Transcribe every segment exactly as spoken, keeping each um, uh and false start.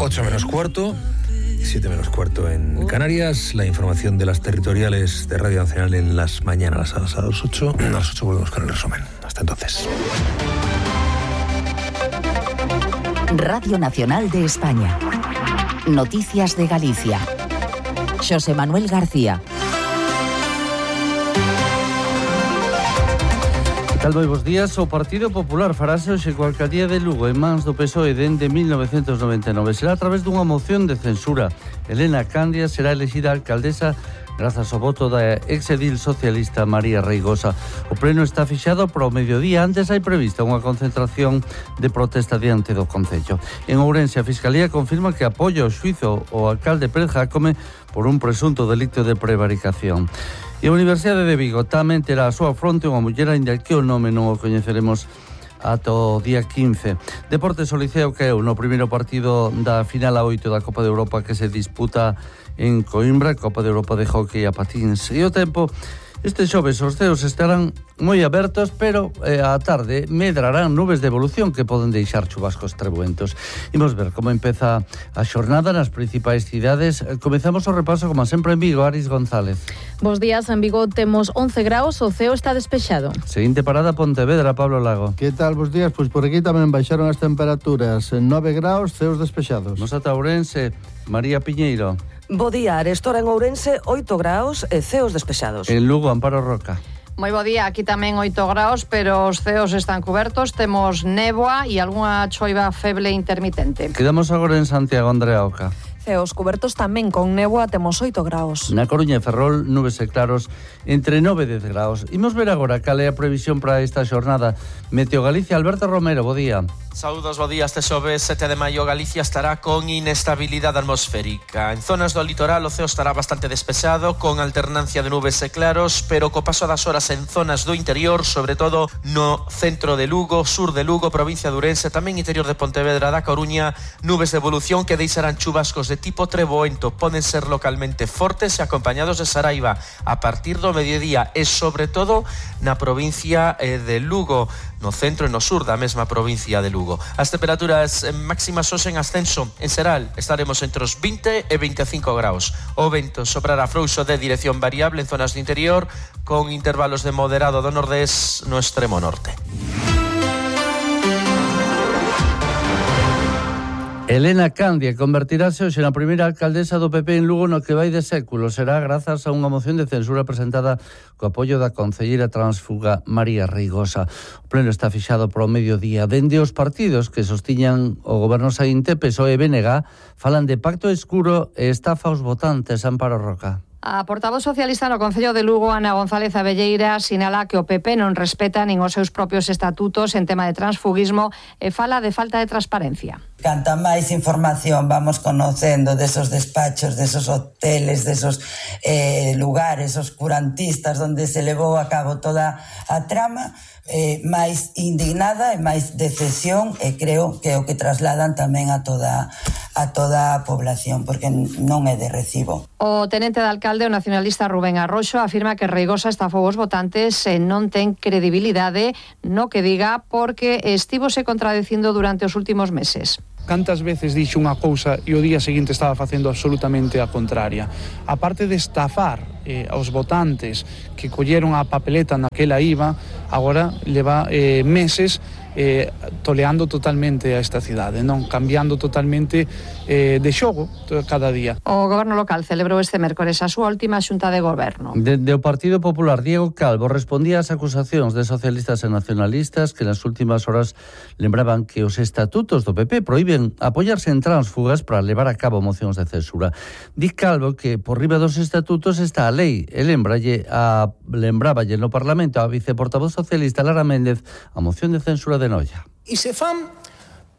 ocho menos cuarto, siete menos cuarto en Canarias. La información de las territoriales de Radio Nacional en las mañanas a las ocho. A las ocho volvemos con el resumen. Hasta entonces. Radio Nacional de España. Noticias de Galicia. Xosé Manuel García. Tal moi bos días. O Partido Popular farase hoxe coa alcaldía de Lugo en mans do P S O E dende mil novecentos noventa e nove. Será a través dunha moción de censura. Elena Candia será elexida alcaldesa grazas ao voto da exedil socialista María Reigosa. O pleno está fixado para o mediodía. Antes hai prevista unha concentración de protesta diante do Concello. En Ourense, a Fiscalía confirma que apoia o xuízo ao alcalde Pérez Jácome por un presunto delito de prevaricación. E a Universidade de Vigo tamén terá a súa fronte unha muller, aínda que o nome non o coñeceremos ata o día quince. Deportes, o Liceo caeu no primeiro partido da final a oito da Copa de Europa que se disputa en Coimbra, Copa de Europa de Hockey a patins. E o tempo, este xoves os ceos estarán moi abertos, pero eh, á tarde medrarán nubes de evolución que poden deixar chubascos trebuentos. Imos ver como empeza a xornada nas principais cidades. Comezamos o repaso, como sempre, en Vigo. Aris González. Bos días, en Vigo temos once graus, o ceo está despexado. Seguinte parada, Pontevedra, Pablo Lago. Que tal, bos días? Pois por aquí tamén baixaron as temperaturas. nove graus, ceos despexados. Nos ata Ourense, María Piñeiro. Bo día, arestora en Ourense, oito graus e ceos despexados. En Lugo, Amparo Roca. Moi bo día, aquí tamén oito graus, pero os ceos están cubertos, temos néboa e algunha choiva feble intermitente. Quedamos agora en Santiago, Andrea Oca. Ceos cubertos tamén con néboa, temos oito graus. Na Coruña e Ferrol, nubes e claros entre nove e dez graus. Imos ver agora cal é a previsión para esta xornada. Meteo Galicia, Alberto Romero, bo día. Saúdos, bo día. Este xoves sete de maio Galicia estará con inestabilidade atmosférica. En zonas do litoral o ceo estará bastante despexado, con alternancia de nubes e claros, pero co paso das horas en zonas do interior, sobre todo no centro de Lugo, sur de Lugo, provincia de Ourense, tamén interior de Pontevedra, da Coruña, nubes de evolución que deixarán chubascos de tipo treboento, poden ser localmente fortes e acompañados de saraiva a partir do mediodía e sobre todo na provincia de Lugo, no centro e no sur da mesma provincia de Lugo. As temperaturas máximas hoxe en ascenso. En Seral estaremos entre os vinte e veinticinco graus. O vento soprará frouxo de dirección variable en zonas do interior, con intervalos de moderado do nordés no extremo norte. Elena Candia convertirase hoxe na primeira alcaldesa do P P en Lugo no que vai de século. Será grazas a unha moción de censura presentada co apoio da concelleira transfuga María Reigosa. O pleno está fixado para o mediodía. Dende os partidos que sostiñan o goberno saínte, P S O E e B N G, falan de pacto escuro e estafa aos votantes. Amparo Roca. A portavoz socialista no Concello de Lugo, Ana González Abelleira, sinala que o P P non respeta nin os seus propios estatutos en tema de transfugismo e fala de falta de transparencia. Canta máis información vamos conocendo desos despachos, desos hoteles, desos eh, lugares oscurantistas onde se levou a cabo toda a trama, eh, máis indignada e máis decepción, e creo que é o que trasladan tamén a toda a toda a población, porque non é de recibo. O tenente de alcalde, o nacionalista Rubén Arroxo, afirma que Reigosa estafou os votantes e non ten credibilidade no que diga porque estivose contradicindo durante os últimos meses. Cantas veces dixo unha cousa e o día seguinte estaba facendo absolutamente a contraria. A parte de estafar eh, aos votantes que colleron a papeleta naquela I V A, agora leva eh, meses eh, toleando totalmente a esta cidade, non cambiando totalmente eh, de xogo cada día. O Goberno local celebrou este mércores a súa última xunta de goberno. Dende o Partido Popular, Diego Calvo respondía ás acusacións de socialistas e nacionalistas que nas últimas horas lembraban que os estatutos do P P proíben apoiarse en tránsfugas para levar a cabo mocións de censura. Di Calvo que por riba dos estatutos está a lei e lembralle a, lembraballe no Parlamento a viceportavoz socialista Lara Méndez a moción de censura de Noia. E se fan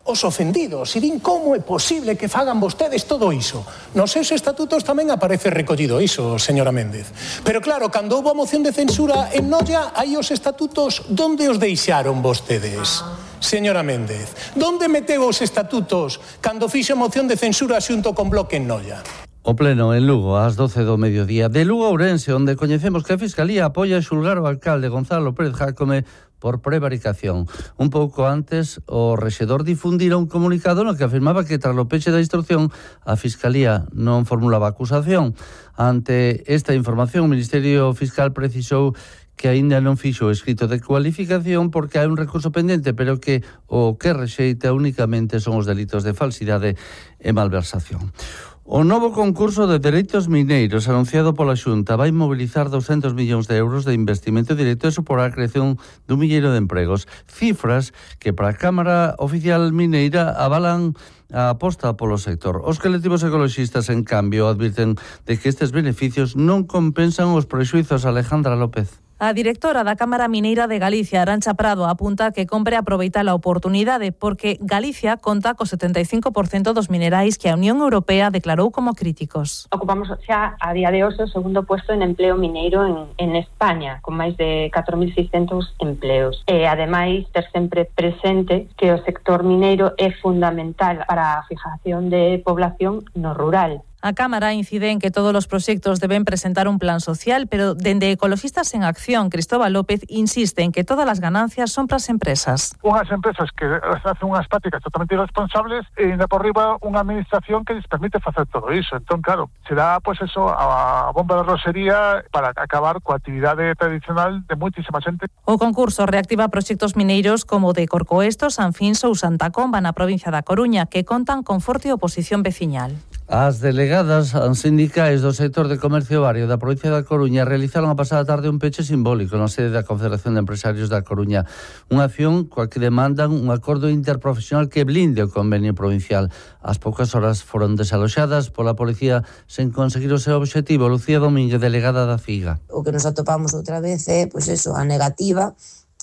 os ofendidos, e din como é posible que fagan vostedes todo iso. Nos seus estatutos tamén aparece recollido iso, señora Méndez. Pero claro, cando houve a moción de censura en Noia, aí os estatutos, donde os deixaron vostedes? Señora Méndez, donde meteu os estatutos cando fixo moción de censura xunto con Bloque en Noia? O pleno en Lugo, ás doce do mediodía. De Lugo a Ourense, onde coñecemos que a Fiscalía apoia xulgar o alcalde Gonzalo Pérez Jácome por prevaricación. Un pouco antes, o rexedor difundira un comunicado no que afirmaba que tras o peche da instrucción a Fiscalía non formulaba acusación. Ante esta información, o Ministerio Fiscal precisou que aínda non fixo o escrito de cualificación porque hai un recurso pendente, pero que o que rexeita únicamente son os delitos de falsidade e malversación. O novo concurso de dereitos mineiros anunciado pola Xunta vai mobilizar doscientos millóns de euros de investimento directo e suporá a creación dun milleiro de empregos. Cifras que para a Cámara Oficial Mineira avalan a aposta polo sector. Os colectivos ecoloxistas, en cambio, advirten de que estes beneficios non compensan os prexuizos. Alejandra López. A directora da Cámara Mineira de Galicia, Arantxa Prado, apunta que compre aproveitar a oportunidade porque Galicia conta co setenta e cinco por cento dos minerais que a Unión Europea declarou como críticos. Ocupamos xa a día de hoxe o segundo puesto en empleo mineiro en, en España, con máis de catro mil seiscentos empleos. E, ademais, ter sempre presente que o sector mineiro é fundamental para a fijación de población no rural. A Cámara incide en que todos os proxectos deben presentar un plan social, pero dende Ecoloxistas en Acción, Cristóbal López insiste en que todas as ganancias son para as empresas. Unhas empresas que hacen unhas prácticas totalmente irresponsables e ainda por riba unha administración que les permite facer todo iso. Entón, claro, será pois pues eso a bomba de rosería para acabar coa actividade tradicional de moitísima xente. O concurso reactiva proxectos mineiros como o de Corcoesto, San Finso ou Santa Comba na provincia da Coruña, que contan con forte oposición veciñal. As delegadas sindicais do sector de comercio vario da provincia da Coruña realizaron a pasada tarde un peche simbólico na sede da Confederación de Empresarios da Coruña. Unha acción coa que demandan un acordo interprofesional que blinde o convenio provincial. As poucas horas foron desaloxadas pola policía sen conseguir o seu obxectivo. Lucía Domínguez, delegada da FIGA. O que nos atopamos outra vez é, pois eso, a negativa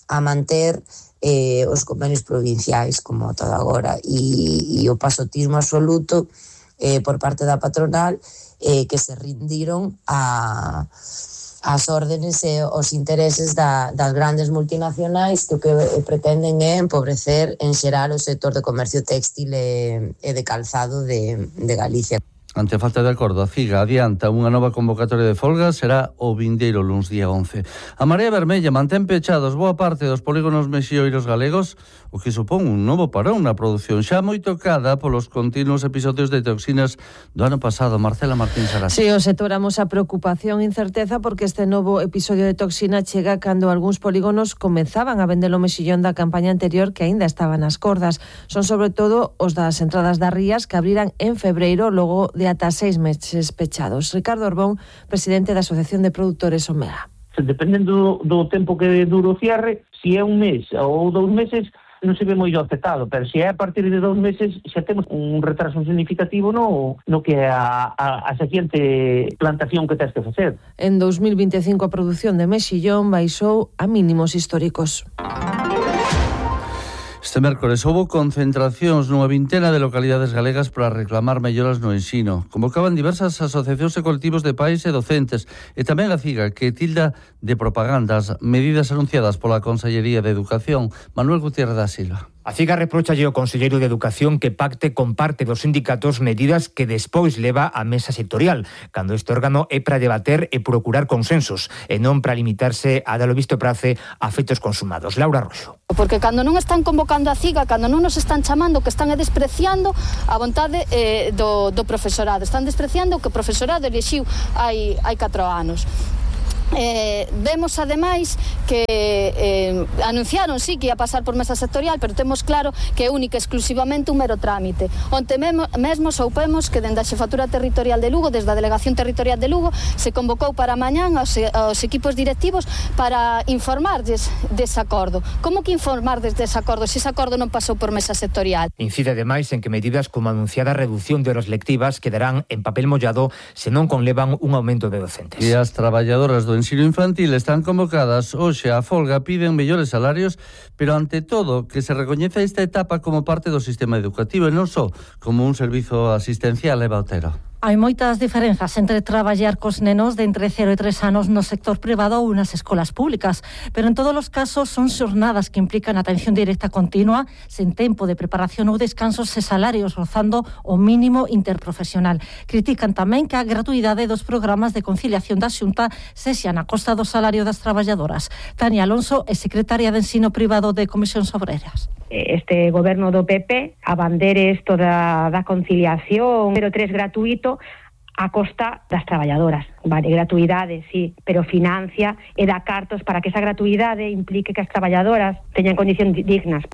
a manter eh, os convenios provinciais como todo agora e, e o pasotismo absoluto Eh, por parte da patronal eh, que se rindiron a as órdenes e os intereses da, das grandes multinacionais que o que pretenden é empobrecer en xeral o sector de comercio téxtil e, e de calzado de, de Galicia. Ante a falta de acordo, a FIGA adianta unha nova convocatoria de folga, será o vindeiro luns día once. A Marea Vermella mantén pechados boa parte dos polígonos mexioiros galegos, o que supón un novo parón na produción xa moi tocada polos continuos episodios de toxinas do ano pasado. Marcela Martín Sarasa. Si, sí, o sector amosa preocupación e incerteza porque este novo episodio de toxina chega cando algúns polígonos comenzaban a vender o mexillón da campaña anterior que aínda estaban nas cordas. Son sobre todo os das entradas das rías que abriran en febreiro logo de ata seis meses pechados. Ricardo Orbón, presidente da Asociación de Produtores Omega. Dependendo do tempo que dure o cierre, se é un mes ou dous meses, non se ve moi afectado, pero se é a partir de dous meses xa temos un retraso significativo no, no que é a, a, a seguinte plantación que tens que facer. En dos mil vinte e cinco a produción de mexillón baixou a mínimos históricos. Este mércores houbo concentracións nunha vintena de localidades galegas para reclamar melloras no ensino. Convocaban diversas asociacións e colectivos de pais e docentes e tamén a CIGA, que tilda de propagandas medidas anunciadas pola Consellería de Educación. Manuel Gutiérrez da Silva. A CIGA reprochalle ao conselleiro de Educación que pacte con parte dos sindicatos medidas que despois leva á mesa sectorial, cando este órgano é para debater e procurar consensos, e non para limitarse a dar o visto prace a feitos consumados. Laura Roxo. Porque cando non están convocando a CIGA, cando non nos están chamando, que están despreciando a vontade eh, do, do profesorado, están despreciando o que o profesorado elixiu hai, hai catro anos. Eh, vemos ademais que eh, anunciaron sí que ia pasar por mesa sectorial, pero temos claro que é única exclusivamente un mero trámite. Onte mesmo, mesmo soupemos que dende a Xefatura Territorial de Lugo, desde a Delegación Territorial de Lugo, se convocou para mañán aos, aos equipos directivos para informarles dese acordo. Como que informarles dese acordo se ese acordo non pasou por mesa sectorial? Incide ademais en que medidas como a anunciada reducción de horas lectivas quedarán en papel mollado se non conlevan un aumento de docentes. E as traballadoras do ensino infantil están convocadas hoxe a folga, piden mellores salarios, pero ante todo que se recoñece esta etapa como parte do sistema educativo e non só como un servizo asistencial. Eva Otero. Hai moitas diferenzas entre traballar cos nenos de entre cero e tres anos no sector privado ou nas escolas públicas, pero en todos os casos son xornadas que implican atención directa continua, sen tempo de preparación ou descansos e salarios rozando o mínimo interprofesional. Critican tamén que a gratuidade dos programas de conciliación da Xunta sexa na costa do salario das traballadoras. Tania Alonso é secretaria de Ensino Privado de Comisións Obreras. Este goberno do P P abandere isto da, da conciliación cero tres gratuito a costa das traballadoras. Vale, gratuidade, sí, pero financia e dá cartos para que esa gratuidade implique que as traballadoras teñan condicións dignas.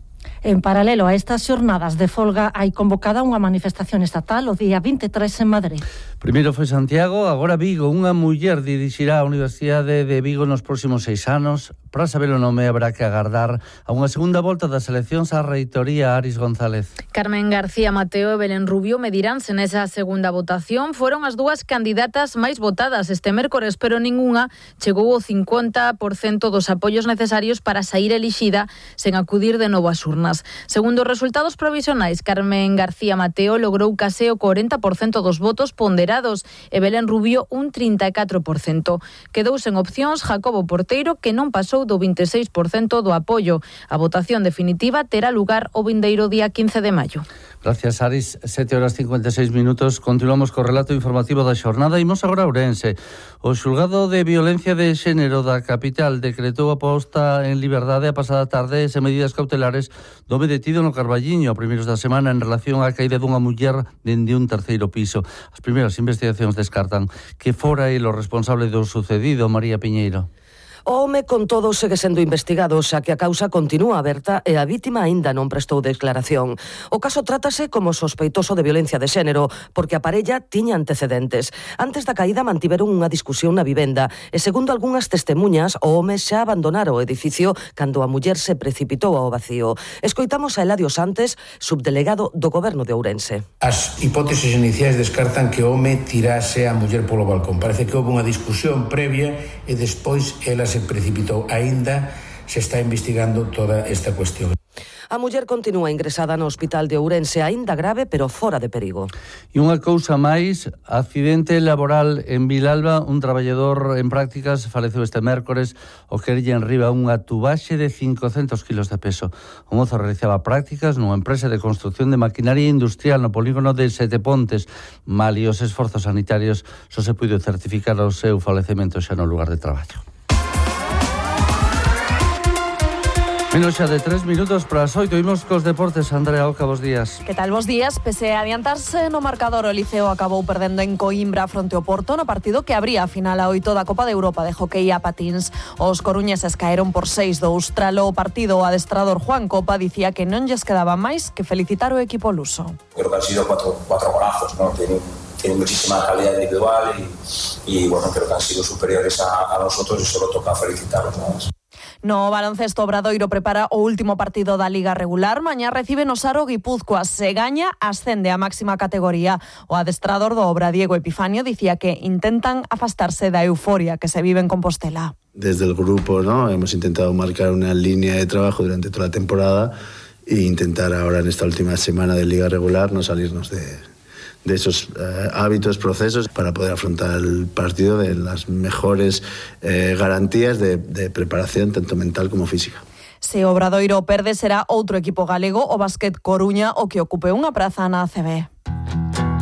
En paralelo a estas xornadas de folga hai convocada unha manifestación estatal o día vinte e tres en Madrid. Primeiro foi Santiago, agora Vigo. Unha muller dirixirá a Universidade de Vigo nos próximos seis anos. Para saber o nome habrá que agardar a unha segunda volta das eleccións á reitoría. Aris González. Carmen García Mateo e Belén Rubio mediránse nesa segunda votación. Foron as dúas candidatas máis votadas este mércores, pero ningunha chegou ao cincuenta por cento dos apoios necesarios para sair elixida sen acudir de novo ás urnas. Segundo os resultados provisionais, Carmen García Mateo logrou case o cuarenta por cento dos votos ponderados e Belén Rubio un trinta e catro por cento. Quedou sen opcións Jacobo Porteiro, que non pasou do vinte e seis por cento do apoio. A votación definitiva terá lugar o vindeiro día quince de maio. Gracias, Aris. sete horas cincuenta e seis minutos. Continuamos co relato informativo da xornada. Imos agora a Ourense. O xulgado de violencia de xénero da capital decretou a posta en liberdade a pasada tarde e medidas cautelares do detido no Carballiño a primeiros da semana en relación á caída dunha muller dende un terceiro piso. As primeiras investigacións descartan que fora el o responsable do sucedido. María Piñeiro. O home, con todo, segue sendo investigado, xa que a causa continúa aberta e a vítima aínda non prestou declaración. O caso trátase como sospeitoso de violencia de xénero, porque a parella tiña antecedentes. Antes da caída mantiveron unha discusión na vivenda e, segundo algunhas testemunhas, o home xa abandonara o edificio cando a muller se precipitou ao vacío. Escoitamos a Eladio Santes, subdelegado do Goberno de Ourense. As hipóteses iniciais descartan que o home tirase a muller polo balcón. Parece que houve unha discusión previa e despois ela se precipitou. Aínda se está investigando toda esta cuestión. A muller continúa ingresada no hospital de Ourense, aínda grave, pero fora de perigo. E unha cousa máis, accidente laboral en Vilalba. Un traballador en prácticas faleceu este mércores o que lle enriba unha tubaxe de cincocentos kilos de peso. O mozo realizaba prácticas nunha empresa de construcción de maquinaria industrial no polígono de Sete Pontes. Mal e os esforzos sanitarios só se puido certificar o seu falecemento xa no lugar de traballo. Menos xa de tres minutos para as oito. Imos cos deportes. Andrea Oca, bos días. Que tal, bos días? Pese a adiantarse no marcador, o Liceo acabou perdendo en Coimbra fronte ao Porto no partido que abría a final a oito da Copa de Europa de hockey a patins. Os coruñeses caeron por seis dous. Tralo o partido, o adestrador Juan Copa dicía que non lles quedaba máis que felicitar o equipo luso. Creo que han sido cuatro, cuatro golazos, ¿no? Tienen, tienen muchísima calidad individual y, y bueno, creo que han sido superiores a, a nosotros y solo toca felicitarlos, ¿no? No baloncesto, Obradoiro prepara o último partido da Liga regular. Mañá recibe no Saro Guipúzcoa. Se gaña, ascende a máxima categoría. O adestrador do Obra, Diego Epifanio, dicía que intentan afastarse da euforia que se vive en Compostela. Desde el grupo, ¿no? Hemos intentado marcar una línea de trabajo durante toda la temporada e intentar ahora en esta última semana de Liga regular no salirnos de... de esos eh, hábitos, procesos, para poder afrontar el partido de las mejores eh, garantías de, de preparación, tanto mental como física. Se Obradoiro perde, será outro equipo galego, o Básquet Coruña, o que ocupe unha praza na A C B.